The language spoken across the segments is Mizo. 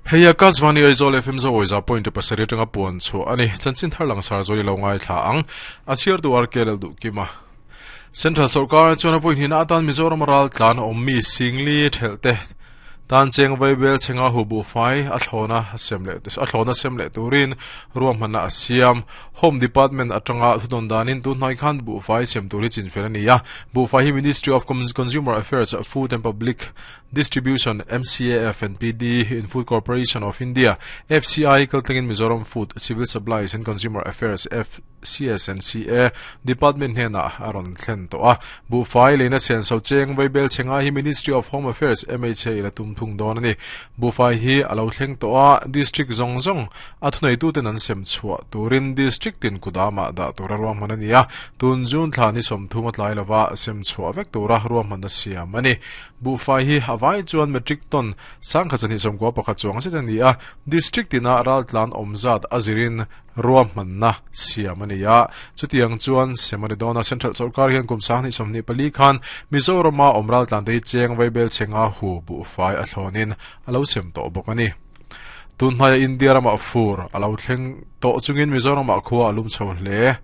Hei Akashvani Aizawl FM Zawiza point pasarih atanga puan chhuah a ni. Chanchin thar langsar zawi lo ngaithla ang. A chhiartu RK Lalduhkima. Central sorkar chuan a vawi hnihna atan Mizoram ral tlan awm mi Singli thelh te tan cheng vaibel chhenga hu buhfai a thlawna sem leh a thlawna sem leh turin ruahmanna a siam. Home Department atanga thudawn danin tunhnai khan buhfai sem tur hi chinfel a ni a. Buhfai hi Ministry of Consumer Affairs, Food and Public Distribution, MCAF and PD in Food Corporation of India, FCI, kaltlangin Mizoram Food, Civil Supplies and Consumer Affairs, FCS and CA, Department hnenah a rawn thlen tawh a. Buhfai leina senso cheng vaibel chhenga hi Ministry of Home Affairs, MHA, la tum thung dawn a ni. Buhfai hi a lo thleng tawh a, District zawng zawng a thuneituten an sem chhuah turin District tin kudamah dah tura ruahman a ni a, tun June thla ni 30 a tlai lova sem chhuah vek tura ruahmanna siam a ni. Buhfai hi a vai chuan metric ton 1291 chuang zet a ni a, District tina raltlan awm zat a zirin ruahmanna siam a ni a. Chutiang chuan sem a ni dawn a, Central sawrkar hian kum 2024 khan Mizorama awm raltlan te hi cheng vaibel chhenga hu buhfai a thlawnin a lo sem tawh bawk a ni. Tun hmaia India ramah fur a lo thleng tawh chungin Mizoramah khua a lum chho hle.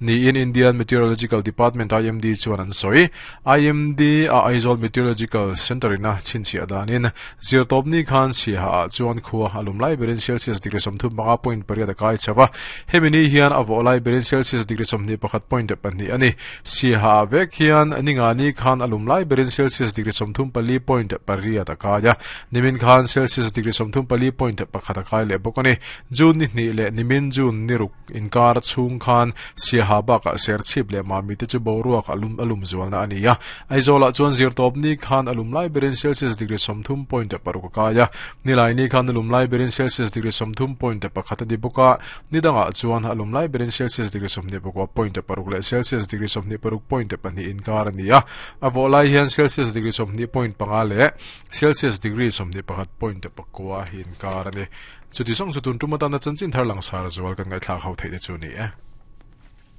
Niin Indian Meteorological Department, IMD, chuan an sawi. IMD a Aizawl Meteorological Centre in a chhinchhiah danin zirtawpni khan Siaha ah chuan khua a lum lai berin Celsius degree 35.8 a kai chho a. Hemi ni hian a vawh lai berin Celsius degree 21.2 a ni. Siaha ah vek hian ningani khan a lum lai berin Celsius degree 34.8 a kai a. Nimin khan Celsius degree 34.1 a kai leh bawk a ni. June ni hnih leh nimin June ni ruk Inkar chhung khan Siaha bakah Serchhip leh Mami te chu boruak a lum a lum zualna a ni a. Aizawlah chuan zirtawpni khan a lum lai berin Celsius degree 30.6 a kai a. Nilaini khan a lum lai berin Celsius degree 30.1 a ni bawk a. Ni dangah chuan a lum lai berin Celsius degree 29.6 leh Celsius degree 26.2 inkar a ni a. A vawh lai hian Celsius degree 20.5 leh Celsius degree 21.9 inkar a ni. Chuti zawng chu tun tum atana chanchin thar langsar zual kan ngaihthlak ho theih te chu a ni e.